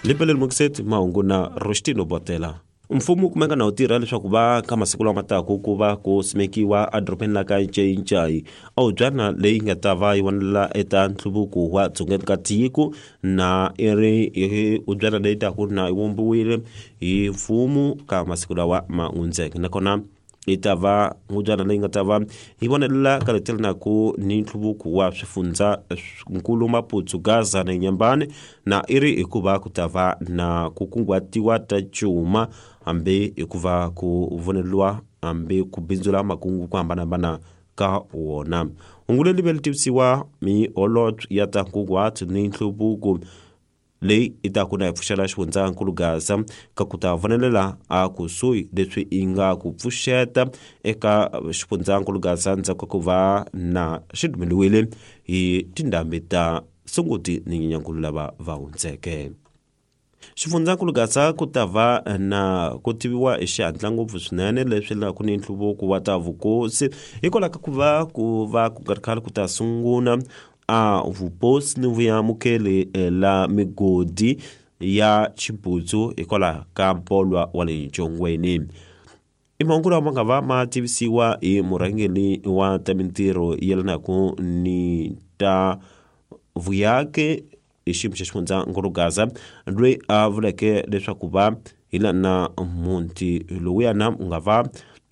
Limpeleni Mukiseti mahungu na Rostino Botela. Mfumo wu kumeka na wu tirha leswaku va ka masiku lama taka ku va ku simekiwa edorobeni la ka Ncayincayi awubyana leyi nga ta va yi vonelela eka nhluvuko wa dzongeni ka tiko na i ri hubyana leyi taku na yi vumbiwile hi mfumo ka masiku lawa ma hundzeke, nakona yi ta va ngubyana leyi nga ta va yi vonelela ka leti naku ni nhluvuko wa swifundza nkulu Maputsu, Gaza na Nyambani, na i ri hikuva ku ta va na ku kunguhatiwa ta cuma hambi hikuva ku voneliwa hambi ku bindzula makungu ku hambanahambana ka wona. Hungu leri ve ri tivisiwa mi holobye ya ta nkunguhato ni nhluvuko leyi i ta ku na yi pfuxela xifundzankulu Gaza ka ku ta vonelela a kusuhi leswi yi nga ku pfuxeta eka xifundzankulu Gaza ndzhaku ka ku va na xi dumeliwile hi tindhambi ta Sunguti ni Nyenyankulu lava va hundzeke. Xifundzankulu Gaza ku ta va na ku tiviwa hi xihatla ngopfu swinene leswi la ku ni nhluvuko wa ta vukosi hikwalaho ka ku va ku va ku nga ri khale ku ta sungula a vuposi ni vuyamukeli la migodi ya xibutsu hikwalaho ka mpolwa wa le ncongweni. I mahungu lawa ma nga va ma tivisiwa hi murhangeri wa ta mintirho yelanaka ni ta vuyaki hi xiyimo xa xifundzankulu Gaza loyi a vuleke leswaku va hi lana muti lowuyana wu nga va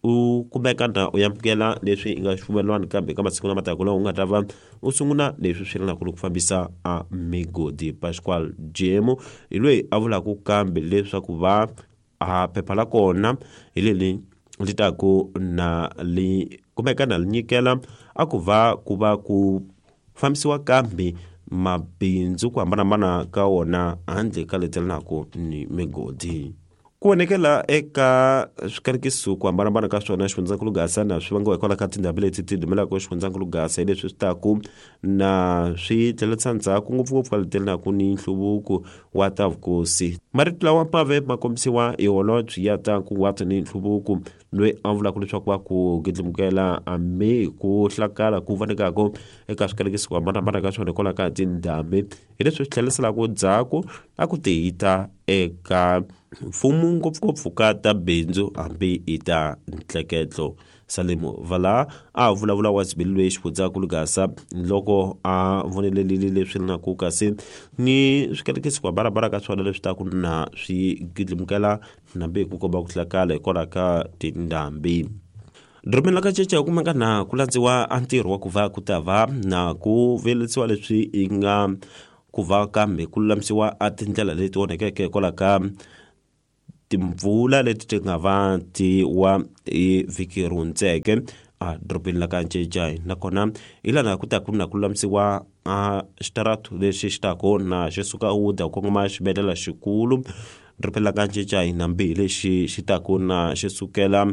u kumeka na u amukela leswi i nga xipfumelwano kambe ka masiku lama taka lawa u nga ta va u sungula leswi swi yelanaka ni ku fambisa a migodi. Pascual Jemo hi loyi a vulaka kambe leswaku va a phepha la kona hi leri li taku na li kumeka na li nyikela a ku va ku va ku fambisiwa kambe mabindzu ku hambanahambana ka wona handle ka leti yelanaka ni migodi. Ku onhekela eka swikanekiso ku hambanahambana ka swona xifundzankulu Gaza na swi vangiwa hikwalaho ka tindhambi leti ti dumelaka xifundzankulu Gaza hi leswi swi taku na swi tlhelerisa ndzhaku ngopfungopfu ka leti yelanaka ni nhluvuko wa ta vukosi. Marito lawa ma ve ma kombisiwa hi holobye ya ta nkunguhato ni nhluvuko loyi a vulaka leswaku va ku gidlimukela hambi ku hlakala ku vonekaka eka swikanekiso ku hambanahambana ka swona hikwalaho ka tindhambi hi leswi swi tlheriselaka ndzhaku a ku tihita eka mfumo ngopfungopfu ka ta bindzu hambi hi ta ntleketlo. Salimu Vala a vulavula wa zibili loyi xifundzankulu Gaza loko a vonelelile leswi naku kasi ni swikanekiso ku hambanahambana ka swona leswi taku na swi gidlimukela nambi hi ku komba ku hlakala hikwalaho ka tindhambi. Dorobeni la ka Cece ku kumeka na ku landziwa a ntirho wa ku va ku ta va na ku vuyelisiwa leswi yi nga ku va kambe ku lulamisiwa a tindlela leti onhakeke hikwalaho ka timpfula leti ti nga va ti wa hi vhiki ri hundzeke a dorobeni la ka Ncecai, nakona hi lana ku ta ku na ku lulamisiwa a xitaratu lexi xi taku na xi suka Wuda ku kongoma xibedhlele xikulu dorobeni la ka Ncecai, nambi hi lexi xi taku na xi sukela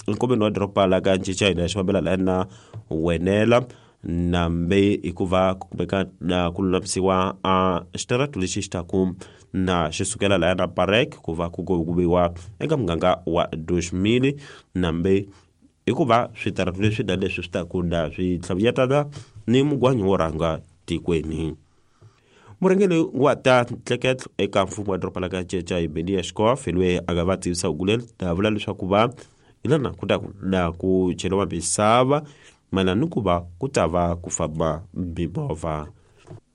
enkoveni wa doroba la ka Ncecai na xi fambela la na Wenela, nambe hikuva ku kumeka na ku lulamisiwa a xitaratu lexi xi taku na xi sukela laya na Parek ku va ku kuviwa eka muganga wa Dushmili, nambe hikuva switaratu leswi na leswi swi taku na swi tlhavuyetana ni mugwanyi wo rhanga tikweni. Murhangeri wa ta ntleketlo eka mfumo wa doroba la ka Cecai Benia Xikof hi loyi a nga va tivisa huku leri a vula leswaku va hi lana ku ta na ku cheriwa misava mayelana ni ku va ku ta va ku famba mimovha.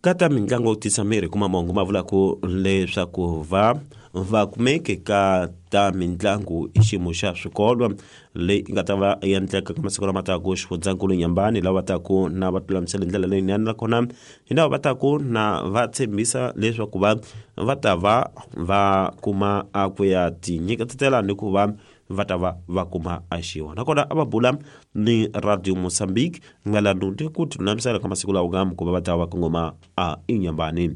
Ka ta mitlangu yo tisa miri kuma mahungu ma vulaka leswaku va va kumeke ka ta mitlangu hi xiyimo xa swikolo leyi nga ta va endleka ka masiku lama taka xifundzankulu Nyambani lava taku na va lulamisela hi ndlela leyinene nakona hi lava va taku na va tshembisa leswaku va va ta va va kuma a ku ya tinyiketela ni ku va va ta va va kuma a xiwa nakona a va bula ni Radio Mozambique mayelana ni ku tilulamisela ka masiku lawa nga ku va va ta va kongoma a inyambani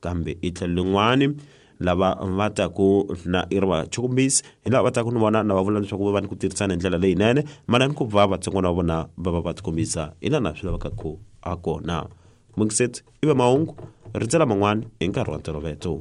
kambe hi tlhelo lin'wani lava va taku na i ri va chukumbisi hi lava va taku ni vona na va vula leswaku va va ni ku tirhisana hi ndlela leyinene mayelana ni ku va vatsongwana va vona va va va tikombisa hi lana swi lavekaka ku a kona. Mungiset i va mahungu rindzela man'wana hi nkarhi wa ntolovelo.